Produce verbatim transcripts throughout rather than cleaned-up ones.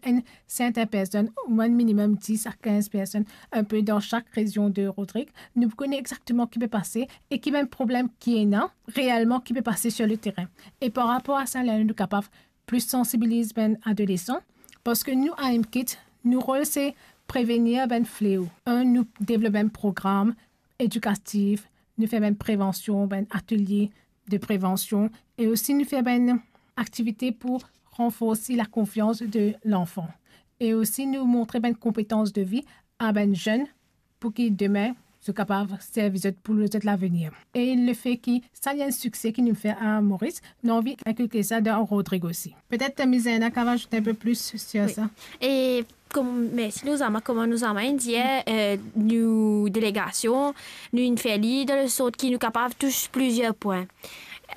enn sertin personn, oumwin minimem dis a kinz personn, inpe dan sak rezion de Rodrig, nou pou kone exakteman ki pe pase e ki bann problem ki ena reelman ki pe pase sur le terrain. E par rapor a sa, ler nou kapav plis sansibiliz bann adolesan, parski nou, AMKIDS, nou rol se prevenir bann fleo. Enn, nou devlop bann program edikatif, nou fer bann prevansion, bann atelie de prevansion, e osi nou fer bann aktivite pou ranforsi lakonfians de lanfan. E osi nou montre bann konpetans de vi a bann zenn pou ki demin zot kapav servi zot pou zot lavenir. E lefe ki sa li enn sikse ki nou fer a Moris, nou anvi inkilke sa dan Rodrig osi. Petet, eh, Mizaina kapav azout inpe plis sur sa. E kom, mersi Nouzama, kouma Nouzama inn dir, eh, nou delegasion, nou inn fer li dan le sort ki nou kapav tous plizier pwin.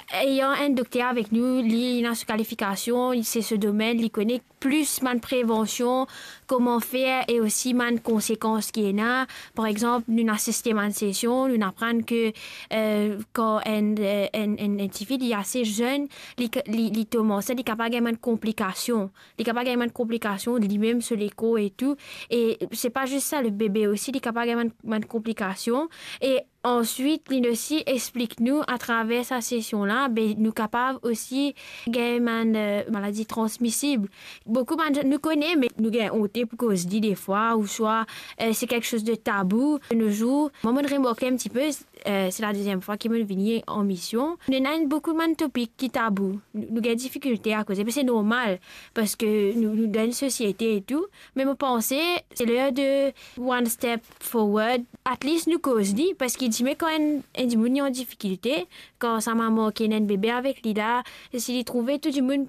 Etan enn dokter avek nou, li ena so kalifikasion, se so domenn, li kone plis bann prevansion, kouma fer e osi bann konsekans ki ena. Par exanp, nou inn asiste bann sesion, nou inn aprann ke, eh, kan enn, eh, enn, enn, enn tifi, li ase zenn, li ka-, li, li tom ansint, li kapav gagn bann konplikasion. Li kapav gagn bann konplikasion, limem so lekor e tou. E se pa zis sa, le bebe osi, li kapav gagn bann, bann konplikasion. E answit, li osi explik nou atraver sa sesion la, be nou kapav osi gagn bann, eh, maladi transmisib. Boukou bann zenn nou kone, me nou gagn onte pou koz li defwa, ouswa, eh, se kiksoz de tabou de nos jours. Mwa, mo'nn remarke enn tipe, eh, se la deziem fwa ki mo'nn vini an mision. Nou ena boukou bann topik ki tabou. Nou, nou gagn difikilte a koze, me se normal, parski nou, nou dan enn sosiete e tou. Me mo panse, se ler de one step forward. At least nou koz li, parski dime kan enn, enn dimoun li an difikilte, kan sa mama ki ena enn bebe avek li la, si li trouve tou dimoun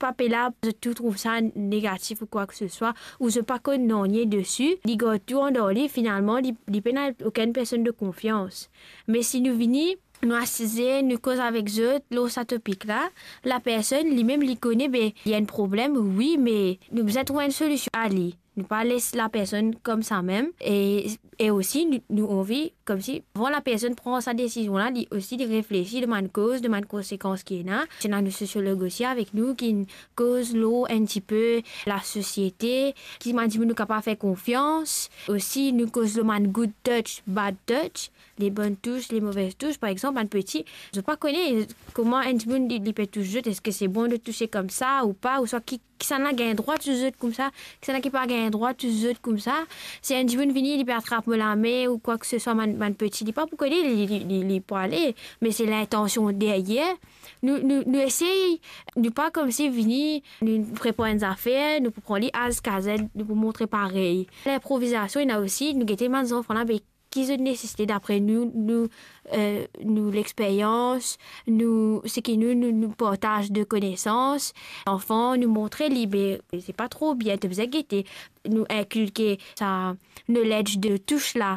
pa pe la, zot tou trouv sa negatif ou kwa ke se swa, ou zot pa konn nanye desi, li gard tou andan li, finalman, li, li pena okenn personn de konfians. Me si nou vini, nou asize, nou koz avek zot lor sa topik la, lapersonn, limem, li kone, be, li ena enn problem, wi, me nou bizin trouv enn solision a li. Nou pa les lapersonn koumsa mem. E, e osi, nou, nou anvi, koumsi, avan lapersonn pran sa desizion la, li osi, li reflesi lor bann koz, lor bann konsekans ki ena. Ena nou sosiolog osi avek nou, ki koz lor enn tipe lasosiete, ki bann dimoun nou kapav fer konfians. Osi, nou koz lor bann good touch, bad touch, le bonn tous, le move tous. Par exanp, bann piti, zot pa kone kouma enn dimoun li, li pe tous zot, eski se bon de touse koumsa ou pa, ouswa ki, kisannla gagn drwa tous zot koumsa, kisannla ki pa gagn drwa tous zot koumsa. Si enn dimoun vini, li pe atrap mo lame ou kwa ke se swa, bann, bann piti, li pa pou kone li, li, li, li pou ale, me se lintansion deryer. Nou, nou, nou esey, nou pa koumsi vini, nou prepar enn zafer, nou pou pran li A ziska Z, nou pou montre parey. Linprovizasion, ena osi, nou gete bann zanfan la, be, ki zot nesesite dapre nou, nou, eh, nou lexperyans, nou, seki nou, nou, nou partaz de konesans. Anfan, nou montre li, be, se pa tro bien, to bizin gete, nou inkilke sa knowledge de tous la.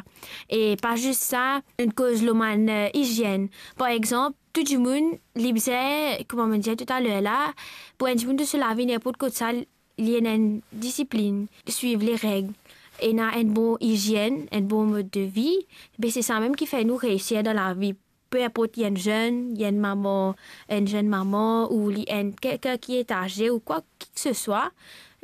E pa zis sa, nou koz lor bann, eh, izienn. Par exanp, tou dimoun, li bizin, kouma mo dir toutaler la, pou enn dimoun to so lavi, ninport kot sa, li ena enn disiplinn, swiv lereg, ena enn bon izienn, enn bon mod de vi, be se sa mem ki fer nou reisir dan lavi. Pe inport li enn zenn, li enn mama, enn zenn mama, ou li enn kelkenn ki etaze, ou kwa ki ke se swa,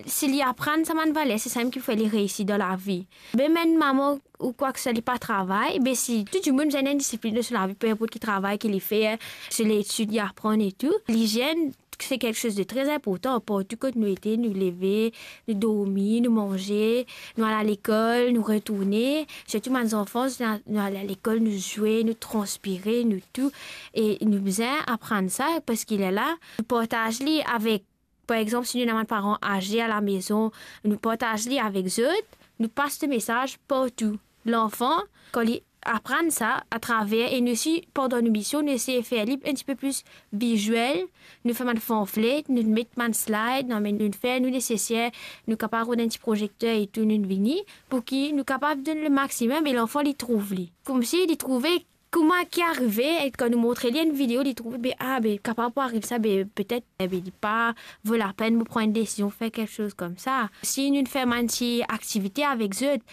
si li aprann sa bann valer, se sa mem ki fer li reisi dan lavi. Mem enn mama ou kwa ke se swa li pa travay, be si tou dimoun bizin enn disiplinn dan so lavi, pe inport ki travay ki li fer, so letid li aprann e tou, lizienn, se kiksoz de tre inportan. Partou kot nou ete, nou leve, nou dormi, nou manze, nou al lekol, nou retourne. Sirtou bann zanfan, nou, nou al lekol, nou zwe, nou transpire, nou tou. E nou bizin aprann sa, parski lerla, nou partaz li avek, par exanp, si nou ena bann paran aze a lamezon, nou partaz li avek zot, nou pas le mesaz partou. Lanfan, kan li aprann sa atraver, e nou osi, pandan nou mision, nou esey fer li enn tipe plis viziel, nou fer bann pamflet, nou met bann slide, nou, nou fer nou neseser, nou kapav rod enn ti prozekter e tou, nou vini, pou ki nou kapav donn le maximum e lanfan li trouv li. Koumsi li trouve kouma ki arive, e kan nou montre li enn video, li trouve, be, a, be, kapav pou ariv sa, be, petet, e, be, li pa vo lapenn pou pran enn desizion, fer kiksoz koumsa. Si nou fer bann ti aktivite avek zot,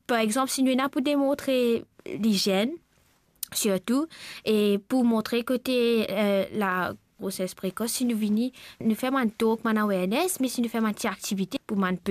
par exanp, si nou ena pou demontre lizienn, sirtou, e pou montre kote, eh, lagroses prekos, si nou vini, nou fer bann talk, bann awareness, me si nou fer bann ti aktivite pou bann